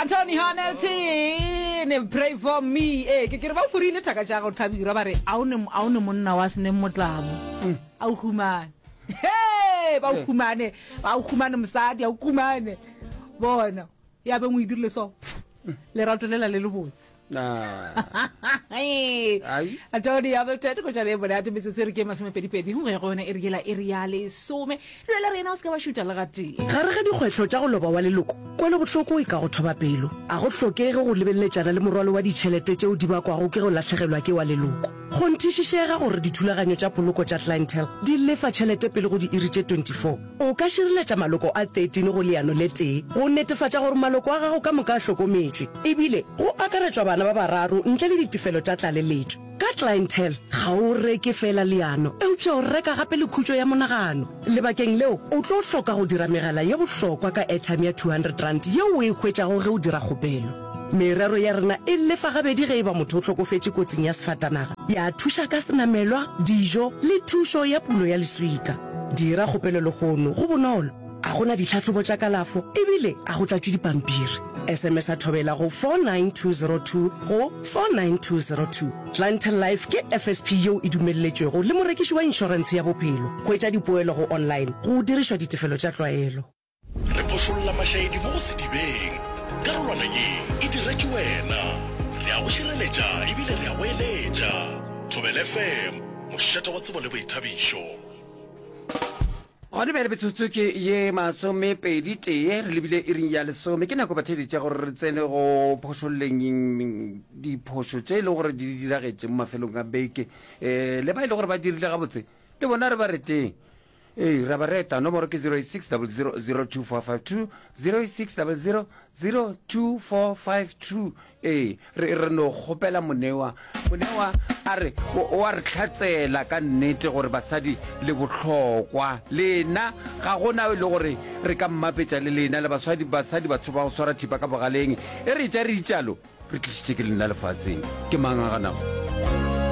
Anthony Hamilton, pray for me. Eh, ke ke re ba furile thaka tša go thabira ba re a o ne a o ne monna wa sene motlamo. Mm. A o humane. Hey, ba o eh. humane, ba o humane mosadi, a o humane. Bona, ya beng o e dirile so. Mm. Lerato lela le le botse. Tony Hamilton go tšwa le monate metsotso e re ke masomepedipedi go ya go yona e re yela e re ya lesome duela rena o se ka ba šuta le gatee. Gare ga dikgwetlho tša go loba wa leloko, kwelobohloko e ka go thoba pelo. A go hlokege go lebeleletšana le morwalo wa ditšhelete tšeo di bakwago ke go lahlegelwa ke wa leloko. Kgonthišišega gore dithulaganyo tša poloko tša Clientele di lefa tšhelete pele go diiri tše 24. O ka šireletša maloko a 13 go leano le tee go netefatša gore maloko a gago ka moka a hlokometšwe, ebile go akaretšwa bana ba bararo ntle le ditefelo tša tlaleletšo. Ka Clientele, ga o reke feela leano, eupša o reka gape le khutšo ya monagano. Lebakeng leo, o tlo hloka go dira megala ye bohlokwa ka airtime ya R200 yeo o e hwetšago ge o dira kgopelo. Merero ya rena e lefa gabedi ge e ba motho o hlokofetše kotsing ya sefatanaga, ya thuša ka senamelwa, dijo le thušo ya pulo ya leswika. Dira kgopelo lehono, go bonolo, a go na ditlhahlobo tša kalafo ebile a go tlatšwe dipampiri. SMS-a Thobela go 49202 go 49202. Clientele Life ke FSP yeo e dumelletšwego le morekiši wa inšorentshe ya bophelo. Hwetša dipoelo go online go dirišwa ditefelo tša tlwaelo. Re phošolla mašaedi mo go sedibeng. Karolwana ye e diretšwe wena. Re a go šireletša ebile re a go eletša. Thobela FM, mošate wa tsebo le boithabišo. Gona bjale metsotso ke ye masomepedi tee re lebile iring ya lesome. Ke nako batheeletša gore re tsene go phošolleng diphošo tše e lego gore di diragetše mo mafelong a beke. Um le ba e le gore ba dirile gabotse le bona re ba reteng. Ee, ra ba reta. Nomoro ke 086 00 02452, 086 00 02452. Ee, re, re no kgopela Monewa. Monewa a re, o, o a re hlatsela ka nnete gore basadi le bohlokwa. Lena, ga go na e le gore re ka mmapetša le lena, le basadi, basadi batho ba go swara thipa ka bogaleng. E re etša re itšalo, re tlišitše ke lena lefaseng. Ke mang a ganago?